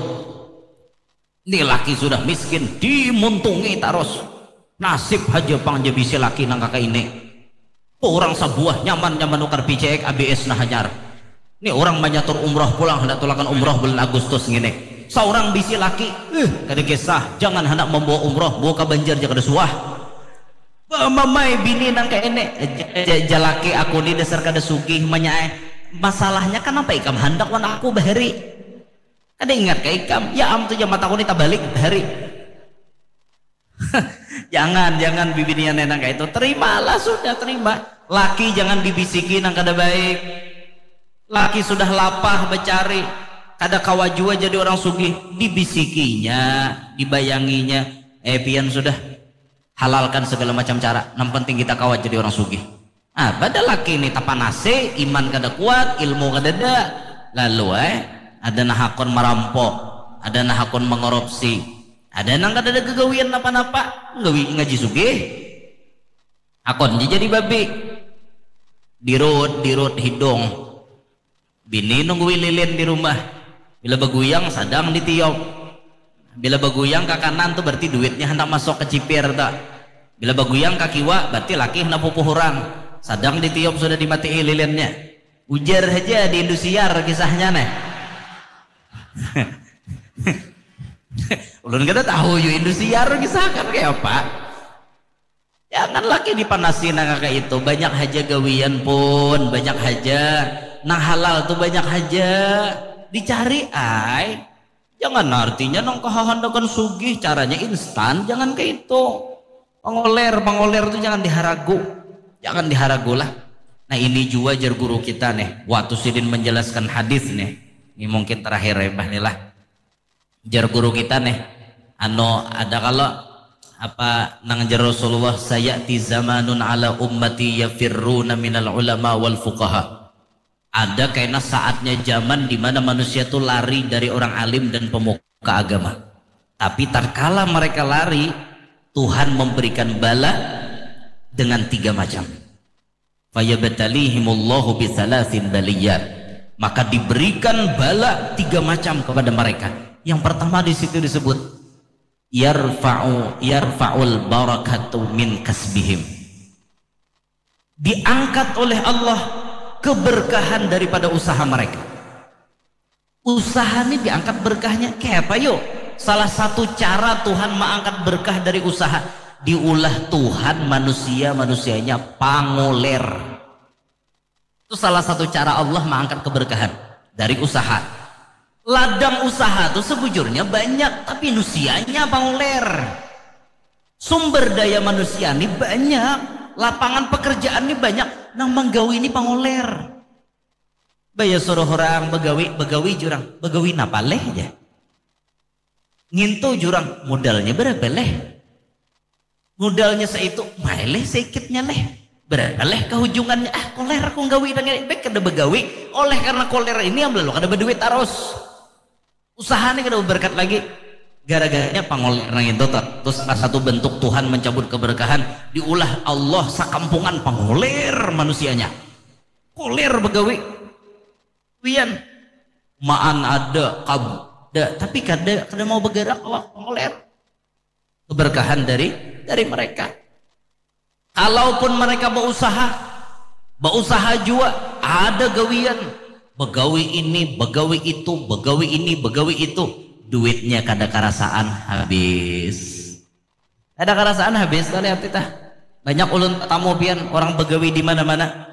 Ini laki sudah miskin, dimuntungi terus. Nasib aja pang aja bisi laki nang kaka ini. Tuh orang sebuah nyaman nyaman nukar P C X A B S nah hanyar. Nih orang manyatur umroh pulang hendak tulakan umroh bulan Agustus ngini. Seorang bisi laki, eh kada kisah, jangan hendak membawa umroh, bawa ke Banjar aja kada suah. Mamai bini nang kayak ini, jalaki aku ni dasar kada sugih manyaai. Masalahnya kenapa ikam hendak wan aku bahari? Kada ingat ke ikam, ya am tu jamat aku ni tabalik bahari. Jangan, jangan bibinian nang kayak itu. Terimalah sudah, terima. Laki jangan dibisiki nang kada baik. Laki sudah lapah becari, kada kawa jua jadi orang sugih, dibisikinya, dibayanginya. Eh pian sudah halalkan segala macam cara. Nang penting kita kawa jadi orang sugih. Ah, pada laki ini tapanasi, iman kada kuat, ilmu kada ada. Lalu eh, ada nah hakun merampok, ada nah hakun mengorupsi, ada nang kada ada gagawian napa-napa, nggawi ngaji sugih. Hakun ja jadi babi. Dirut, dirut hidung. Bini nunggui lilin di rumah. Bila baguyang sadang ditiup. Bila baguyang ke kanan tu berarti duitnya handak masuk ke cipir tu. Bila baguyang ke kiwa berarti laki handak pupuh urang. Sadang ditiup sudah dimatii lilinnya. Ujar haja di Indosiar kisahnya neh. Ulun kada tahu jua Indosiar kisah kan kayak apa. Jangan laki dipanasi nang kayak itu. Banyak haja gawian pun, banyak haja nang halal tuh, banyak haja dicari ai. Jangan artinya nang kahandakan sugih caranya instan, jangan kayak itu. Pangoler, pangoler tuh jangan diharagu. Jangan diharagu lah. Nah, ini jua jar guru kita nih. Waktu sidin menjelaskan hadis nih. Ini mungkin terakhir ya, Mbah, nih lah. Jar guru kita nih, anu, ada kalau apa nang jar Rasulullah, "Sayati zamanun ala ummati yafirruna minal ulama wal fuqaha." Ada kena saatnya zaman di mana manusia tuh lari dari orang alim dan pemuka agama. Tapi tatkala mereka lari, Tuhan memberikan bala dengan tiga macam. Fayabtalihimullahu bisalasin baliyat. Maka diberikan bala tiga macam kepada mereka. Yang pertama di situ disebut yarfa'u yarfa'ul barakatu min kasbihim. Diangkat oleh Allah keberkahan daripada usaha mereka. Usaha ni diangkat berkahnya. Kayak apa yuk? Salah satu cara Tuhan mengangkat berkah dari usaha, diulah Tuhan manusia-manusianya pangoler. Itu salah satu cara Allah mengangkat keberkahan dari usaha. Ladang usaha tuh sebujurnya banyak, tapi manusianya pangoler. Sumber daya manusia ini banyak, lapangan pekerjaan ini banyak, nang menggawi ini pangoler. Baya suruh orang begawi, begawi jurang, begawi napa leh ya? Ngintu jurang, modalnya berapa leh? Modalnya seitu, mai leh seikitnya leh. Berapa leh kehujungannya? Ah, koler aku nggawi dengan baik kada begawi. Oleh karena koler ini yang lalu kada berduit terus. Usaha ini kada berkat lagi. Gara-garanya pangoler nang itu tuh. Terus salah satu bentuk Tuhan mencabut keberkahan, diulah Allah sakampungan pangoler manusianya. Koler begawi. Wian, maan ada, kab, ada, tapi kada kada mau bergerak Allah, pangoler. Keberkahan dari dari mereka. Kalaupun mereka berusaha, berusaha jua, ada gawian, begawi ini, begawi itu, begawi ini, begawi itu, duitnya kada karasaan habis. Kada karasaan habis, tuh lihat kita. Banyak ulun tamu pian, orang begawi di mana-mana.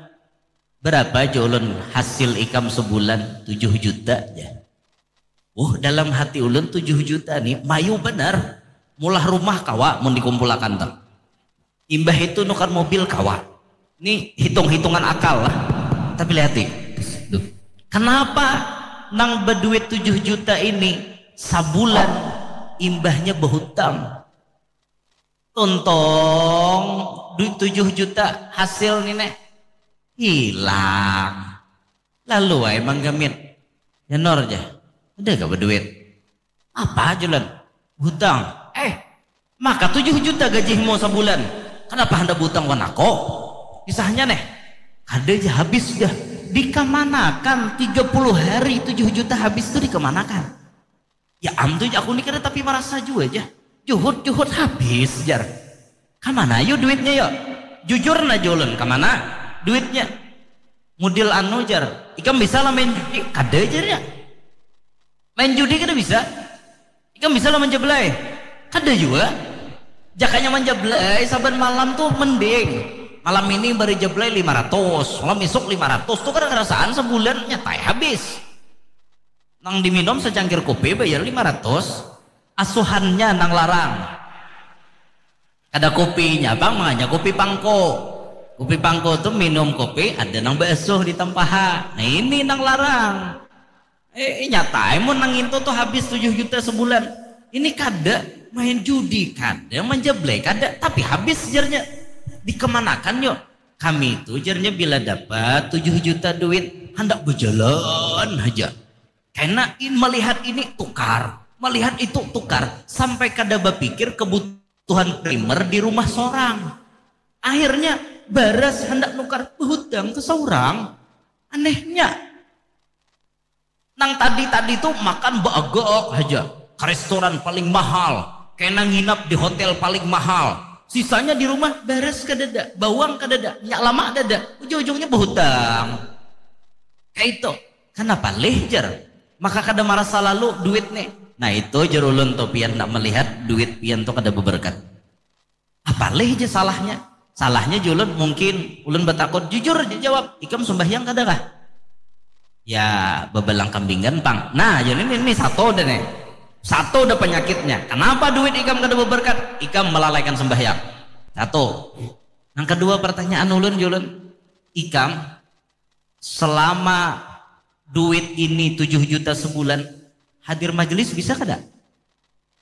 Berapa aja ulun hasil ikam sebulan? Tujuh juta aja. Uh, dalam hati ulun tujuh juta nih, mayu benar. Mulah rumah kawa mun dikumpulakan tuh. Imbah itu nukar mobil kawa. Ini hitung-hitungan akal lah. Tapi lihat nih. Kenapa nang berduit tujuh juta ini sabulan imbahnya berhutang? Tuntong duit tujuh juta hasil nih neh. Hilang. Lalu wae manggamit. Ya Nor ja. Ada gak berduit? Apa julan? Hutang. Eh, maka tujuh juta gajimu sabulan. Kenapa hendak butang wan ako? Kisahnya neh. Kada ja habis dah. Dikamanakan tiga puluh hari tujuh juta habis tuh dikamanakan? Ya am tuh aku ni kada tapi marasa jua ja. Juhut-juhut habis jar. Kamana yu duitnya yo? Jujur nah julun, kamana duitnya? Mudil anu jar, ikam bisa lah main judi? Kada jar ya. Main judi kada bisa. Ikam bisa lah manjablay? Kada jua. Jakanya manjablay saban malam tuh mending. Malam ini bari jablay lima ratus, malam isuk lima ratus tuh kada karasaan sabulan nyatai habis. Nang diminum secangkir kopi bayar lima ratus, asuhannya nang larang. Kada kopinya pang, makanya kopi pangko. Kopi pangko tu minum kopi ada nang baasuh di tampaha. Nah ini nang larang. Eh, eh, nyatai mun nang itu tuh habis tujuh juta sebulan. Ini kada, main judi kada, manjablay kada, tapi habis jarnya. Dikemanakan yuk? Kami itu jarnya bila dapat tujuh juta duit, handak berjalan aja. Kena in melihat ini tukar, melihat itu tukar, sampai kada bapikir kebutuhan primer di rumah sorang. Akhirnya baras hendak nukar, berhutang ke seorang. Anehnya, nang tadi-tadi tuh makan baagak aja ke restoran paling mahal, kena nginap di hotel paling mahal, sisanya di rumah baras kadada, bawang kadada, minyak lama dada, ujung-ujungnya berhutang. Kayak itu. Kenapa leh jar? Maka kada marasa lalu duit nih. Nah itu jar ulun tuh, pian nak melihat duit pian tuh kada beberkat. Apalih je salahnya. Salahnya julun mungkin ulun batakun, jujur je jawab, ikam sumbahyang kada kah? Ya, babalang kambingan pang. Nah, jadi ini, ini satu dah nih. Satu dah penyakitnya. Kenapa duit ikam kada berberkat? Ikam melalaikan sembahyang. Satu. Yang kedua pertanyaan ulun julun, ikam selama duit ini tujuh juta sebulan hadir majelis bisa kada?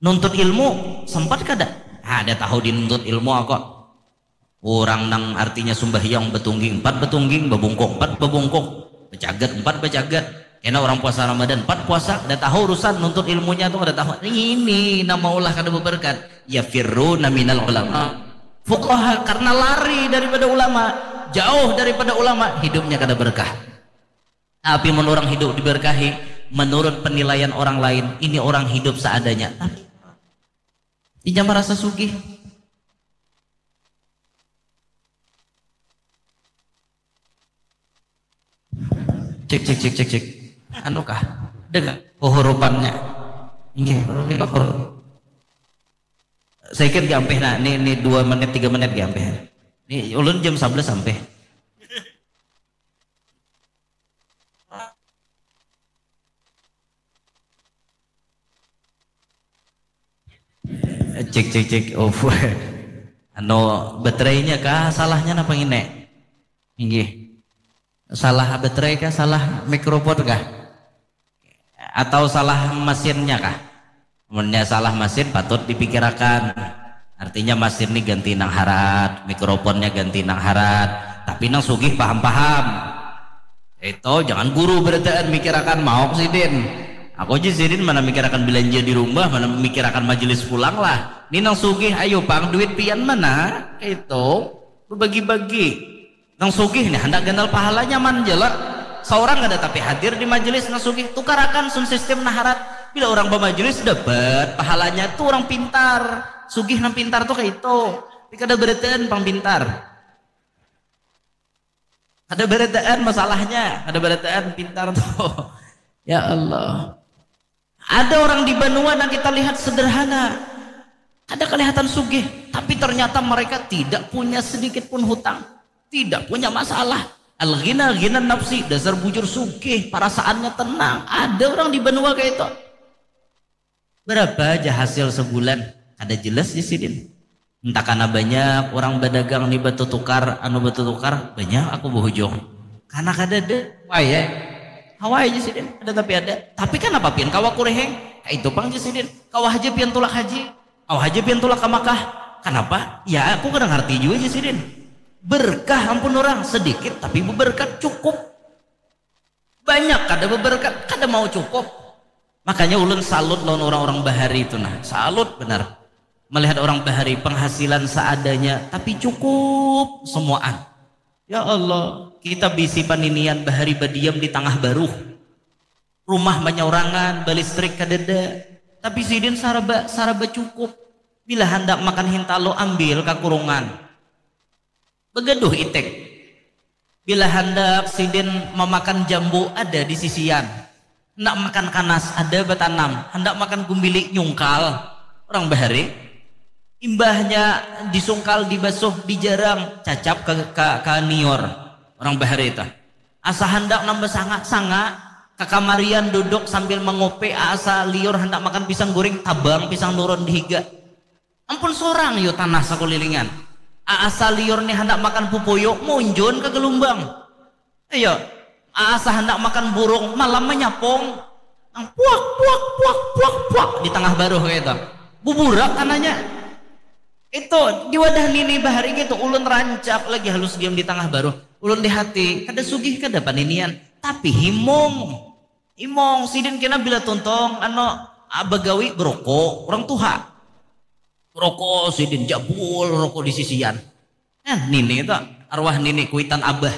Nuntut ilmu sempat kada? Ada tahu dinuntut ilmu aku. Orang nang artinya sumbahyang betungging empat betungging, bebungkuk empat bebungkuk, becagat empat becagat. Kena orang puasa Ramadan empat puasa, ada tahu urusan nuntut ilmunya tuh kada tahu. Ini nama ulah kada beberkat. Ya firru naminal ulama. Fuqaha karena lari daripada ulama, jauh daripada ulama, hidupnya kada berkah. Tapi mun orang hidup diberkahi, menurut penilaian orang lain, ini orang hidup seadanya. Tapi inya merasa sugih. Cek cek cek cek cek. Anu kah? Dengar kehurupannya. Inggih, huruf. Saya kira gampih nah, ini, ini dua menit tiga menit gampih. Ini ulun jam sebelas sampai. Cek cek cek. Oh, anu, baterainya kah salahnya napa ngini? Inggih. Salah baterai kah, salah mikrofon kah? Atau salah mesinnya kah? Munnya salah mesin patut dipikirakan. Artinya mesin ni ganti nang harat, mikrofonnya ganti nang harat. Tapi nang sugih paham-paham. Itu jangan guru berataan mikirakan mauk sidin. Aku aja sidin mana mikirakan belanja di rumah, mana mikirakan majelis pulang lah. Ini nang sugih ayo pang duit pian mana? Itu bagi-bagi. Nang sugih nih handak ganal pahalanya man jala. Saurang kada tapi hadir di majelis nang sugih, tukarakan sun sistem naharat. Bila orang bamajelis dapat pahalanya tu orang pintar. Sugih nang pintar tu kaitu. Tapi kada barataan pang pintar. Kada barataan masalahnya, kada barataan pintar tu. Ya Allah. Ada orang di banua nang kita lihat sederhana, kada kelihatan sugih, tapi ternyata mereka tidak punya sedikit pun hutang, tidak punya masalah. Al-ghina ghina nafsi, dasar bujur sugih, perasaannya tenang. Ada orang di banua kayak itu. Berapa aja hasil sebulan? Kada jelas di sidin. Entah karena banyak orang berdagang nih batu tukar, anu batu tukar, banyak aku berhujung. Karena kada ada, wah ya. Hawa aja sidin, ada tapi ada. Tapi kan apa pian kawa kureheng? Kayak itu pang aja sidin. Kawa aja pian tulak haji. Kawa aja pian tulak ke Makkah. Kenapa? Ya aku kada ngerti juga aja sidin. Berkah ampun orang, sedikit tapi berkat cukup. Banyak kada beberkat, kada mau cukup. Makanya ulun salut lawan orang-orang bahari itu nah, salut benar. Melihat orang bahari penghasilan seadanya tapi cukup semuaan. Ya Allah, kita bisi paninian bahari badiam di tangah baruh. Rumah manyaurangan, balistrik kadada. Tapi sidin saraba saraba cukup. Bila handak makan hintalo ambil ka kurungan. Begaduh itik. Bila handak sidin mamakan jambu ada di sisian. Handak makan kanas ada batanam. Handak makan gumbili nyungkal. Orang bahari. Imbahnya disungkal, dibasuh, dijarang, cacap ka, ka, ka niur. Orang bahari itu. Asa handak nambah sanga, sanga. Kakamarian duduk sambil mangupi, asa liur handak makan pisang guring, tabang pisang nurun di higa. Ampun sorang yo tanah sakulilingan. Aasa liur ni handak makan pupuyu, munjun ka galumbang. Iyo, aasa handak makan burung, malam manyapung. Nang puak, puak, puak, puak, puak di tangah baruh kaya itu. Buburak tanahnya. Itu di wadah nini bahari gitu, ulun rancak lagi halus diam di tangah baruh. Ulun di hati, kada sugih kada paninian, tapi himung. Imong, sidin kena bila tuntung, anu, ah, bagawi beroko, orang tuha. Roko sidin jabul, roko di sisian. Eh, nini tu, arwah nini kuitan abah.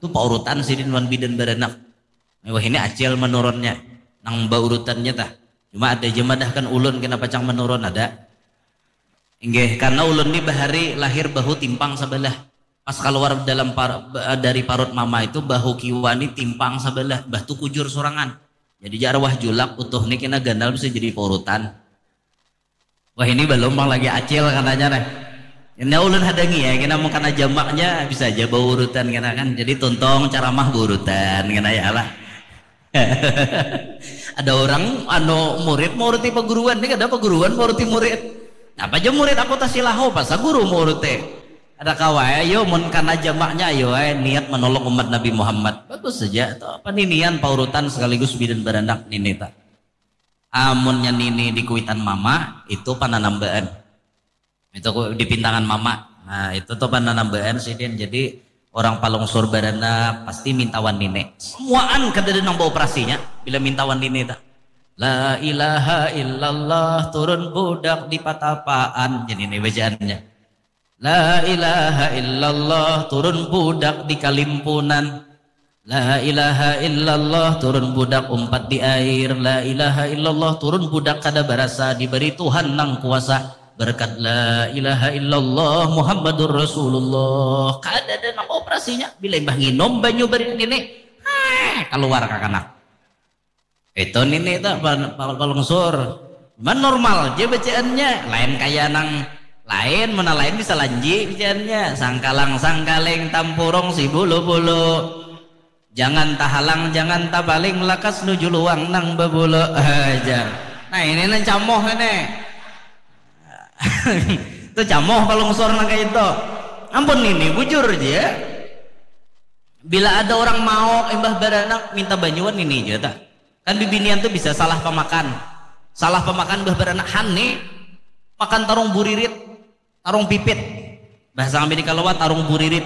Tu paurutan sidin wan bidan baranak. Wah, ini acil menurunnya. Nang baurutannya tah. Cuma ada je madahkan ulun kena pacang menurun, ada. Inggih, karena ulun ni bahari lahir bahu timpang sabalah. Pas kaluar dalam par, ba, dari parut mama itu bahu kiwa ni timpang sabalah, bah tu kujur surangan. Jadi jar wah julak utuh ni kena ganal bisa jadi paurutan. Wah ini balum pang lagi acil kananya nah. Kena ulun hadangi ya, kena mun kana jamaknya bisa aja baurutan kena kan. Jadi tuntung caramah baurutan kena ya lah. Ada orang anu murid mauruti paguruan, ni kada paguruan mauruti murid. Apa aja murid aku tasilaho, pasa guru mauruti. Ada kawai, ayo mun kana jamaknya ayo ai niat menolong umat Nabi Muhammad. Bagus saja. Tuh, apa ninian paurutan sekaligus bidan baranak nini ta. Amunnya nini di kuitan mama, itu pananambaan. Itu ku dipintangan mama. Nah, itu tuh pananambaan sidin. Jadi orang palungsur baranak pasti mintawan nini. Semuaan kadada nang baoperasinya bila mintawan nini ta. La ilaha illallah turun budak di patapaan. Jadi ini bacaannya. La ilaha illallah turun budak di kalimpunan. La ilaha illallah turun budak umpat di air. La ilaha illallah turun budak kada barasa diberi Tuhan nang kuasa. Berkat la ilaha illallah Muhammadur Rasulullah. Kada ada nang operasinya. Bila imbah nginum banyu bari nini, heh, keluar kakanak. Itu nini tu palungsur. Cuman normal ja bacaannya. Lain kaya nang lain, mana lain bisa lanji bacaannya. Sangkalang sangkaling tampurung si bulu-bulu. Jangan tahalang, jangan tapaling, lakas nuju luang nang babulu. Hajar. Nah ini nang camoh ini. Itu camoh palungsur nang kaya itu. Ampun nini, bujur ja. Bila ada orang maok imbah baranak minta banyuan nini ja ta. Kan bibinian tu bisa salah pamakan. Salah pamakan bah baranak, "Han ni, makan tarung buririt, tarung pipit." Bahasa kami di Kalawa tarung buririt.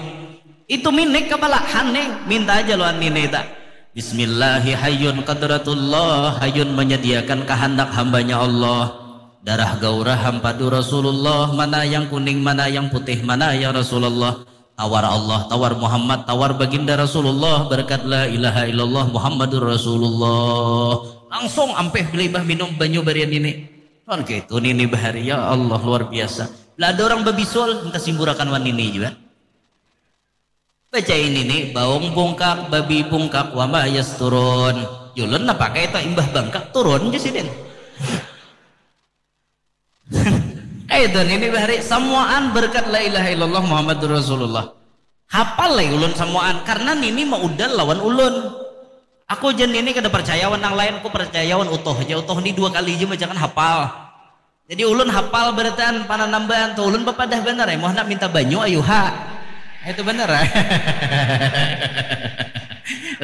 Itu minik kapala, "Han ni, minta aja lawan nini ta." Bismillahi hayyun qadratullah, hayyun menyediakan kehendak hambanya Allah. Darah gaurah hampadu Rasulullah, mana yang kuning, mana yang putih, mana ya Rasulullah. Tawar Allah, tawar Muhammad, tawar baginda Rasulullah, berkat la ilaha illallah Muhammadur Rasulullah. Langsung ampih belimbah minum banyu barian ini. Kan gitu nini bahari, ya Allah luar biasa. Lah ada orang babisul, minta simburakan wan nini juga. Baca ini nih, baung bungkak, babi bungkak, wama yas turun. Julun napa kayak itu imbah bangkak, turun aja sidin. Kayak itu nini bahari, samuaan berkat la ilaha illallah Muhammadur Rasulullah. Hapal lagi ulun samuaan, karena nini maudal lawan ulun. Aku jen nini kada percaya wan nang lain, aku percaya wan utuh aja. Utuh ni dua kali aja bacakan hapal. Jadi ulun hapal berataan pananambaan tu, ulun bapadah banar ai, muha handak minta banyu ayuha. Itu banar ai.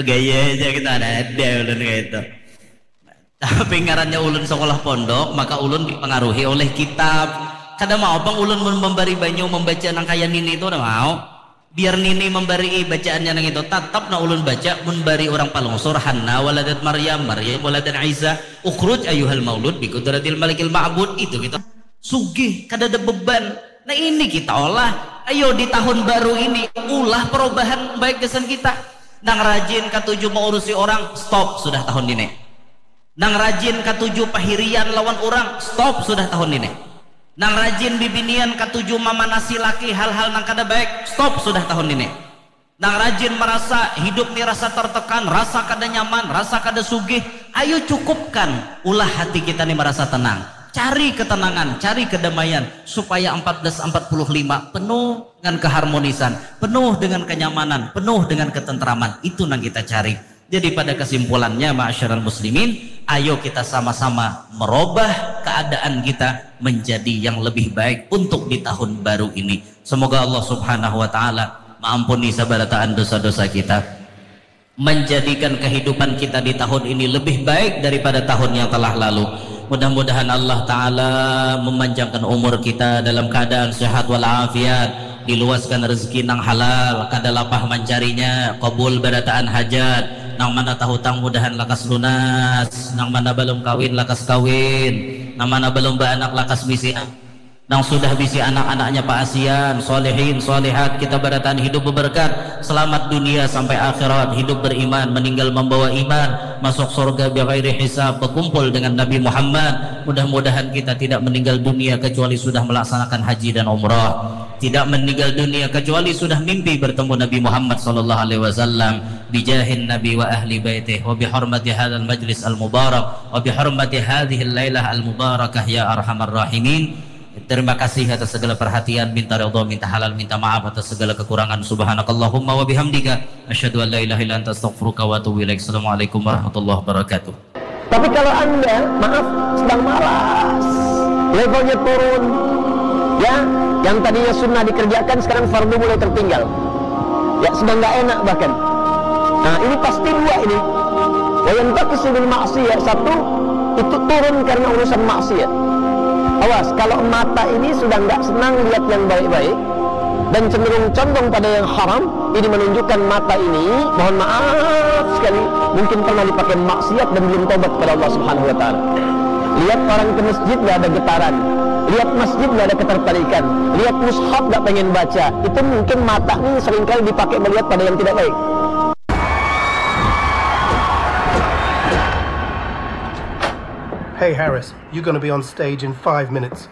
Gaya aja kita ada ada ulun kayak itu. Tapi ngarannya ulun sekolah pondok, maka ulun dipengaruhi oleh kitab. Kada mau pang ulun mun membari banyu membaca nang kaya nini tu kada mau. Biar nini mambarii bacaannya nang itu, tatap nah ulun baca mun bari urang palungsur, Hanna waladat Maryam, Maryam waladat Isa, ukhruj ayyuhal maulud bi qudratil malikil ma'bud, itu kita sugih, kadada beban. Nah ini kita olah, ayo di tahun baru ini ulah perubahan baik gasan kita. Nang rajin katuju maurusi orang, stop sudah tahun ini. Nang rajin katuju pahirian lawan urang, stop sudah tahun ini. Nang rajin bibinian katuju mamanasi laki hal-hal nang kada baik, stop sudah tahun ini. Nang rajin marasa hidup ni rasa tertekan, rasa kada nyaman, rasa kada sugih, ayu cukupkan, ulah hati kita ni marasa tenang. Cari ketenangan, cari kedamaian, supaya empat belas empat puluh lima penuh dengan keharmonisan, penuh dengan kenyamanan, penuh dengan ketentraman. Itu nang kita cari. Jadi pada kesimpulannya, ma'asyiral muslimin, ayo kita sama-sama merubah keadaan kita menjadi yang lebih baik untuk di tahun baru ini. Semoga Allah Subhanahu wa Ta'ala maampuni sabarataan dosa-dosa kita, menjadikan kehidupan kita di tahun ini lebih baik daripada tahun yang telah lalu. Mudah-mudahan Allah Ta'ala memanjangkan umur kita dalam keadaan sehat walafiat, diluaskan rezeki nang halal, kada lapah mancarinya, kabul barataan hajat, nang mana tahutang mudahan lakas lunas, nang mana balum kawin lakas kawin, nang mana balum baanak lakas bisi anak, nang sudah bisi anak-anaknya paasian, solehin, solehat, kita barataan hidup beberkat, selamat dunia sampai akhirat, hidup beriman, meninggal membawa iman, masuk surga bighairi hisab, berkumpul dengan Nabi Muhammad. Mudah-mudahan kita tidak meninggal dunia kecuali sudah melaksanakan haji dan umrah. Tidak meninggal dunia kecuali sudah mimpi bertemu Nabi Muhammad sallallahu alaihi wasallam. Bijahin Nabi wa ahli baitih wa bihormati hadzal majlis al mubarak wa bihormati hadzihil lailah al mubarakah ya arhamar rahimin. Terima kasih atas segala perhatian, minta ridho, minta halal, minta maaf atas segala kekurangan. Subhanakallahumma wa bihamdika, asyhadu an la ilaha illa anta, astaghfiruka wa atubu ilaik. Assalamualaikum warahmatullahi wabarakatuh. Tapi kalau Anda, maaf, sedang malas, levelnya turun, ya, yang tadinya sunnah dikerjakan sekarang fardu mulai tertinggal. Ya, sedang nggak enak bahkan. Nah, ini pasti dua ini. Wa yantaqisu bil maksiyah, satu, itu turun karena urusan maksiat. Awas, kalau mata ini sudah nggak senang lihat yang baik-baik dan cenderung condong pada yang haram, ini menunjukkan mata ini, mohon maaf sekali, mungkin pernah dipakai maksiat dan belum tobat kepada Allah Subhanahu wa taala. Lihat orang ke masjid nggak ada getaran, lihat masjid nggak ada ketertarikan, lihat mushaf nggak pengen baca, itu mungkin mata ini seringkali dipakai melihat pada yang tidak baik. Hey Harris, you're gonna be on stage in five minutes.